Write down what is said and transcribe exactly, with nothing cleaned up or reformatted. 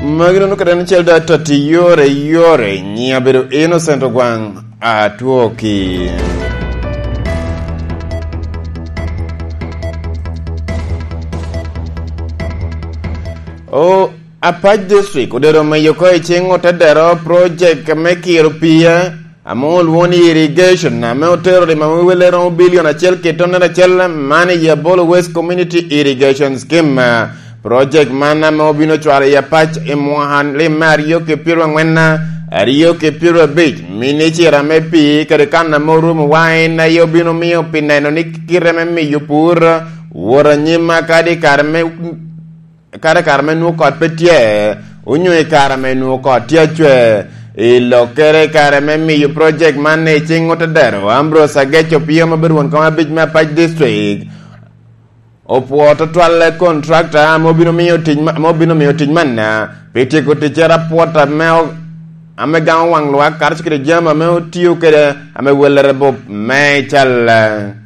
Magi doŋ okete en acel da tatti yore yore, nyiŋa bedo Innocent Ogwaŋ, atwoki. O, Apac District odedo meyo oko i ciŋ otedero project me kiro pii ame olwoŋo ni irrigation, ame otero rima me welle romo bilion acel ki tonnere acel, man i Yabolo West Community Irrigation Scheme. Project man ame obino cwalo i Apac i mwaka lim me aryo ki pyeraryo angwen, aryo ki pyeraryo abic, minicira me pii kede kan ame orumo wa en aye obino miyo pi neno ni kite me miyo pur wot anyim kadi i kare me, kadi i kare me nwoŋo kot pe tye, onyo i kare me nwoŋo kot tye acwe. I lokkere i kare me miyo project man i ciŋ otedero, Ambrose Ageco Pio ma bedo won kom abic me Apac District, opwoo tutwalle contractor ame obino miyo tic ma-, ame obino miyo tic manna, pi tyeko ticcere apwot ame o-, ame gamo waŋ lwak, karacel kede jami ame otio kede ame wellere bup me cal.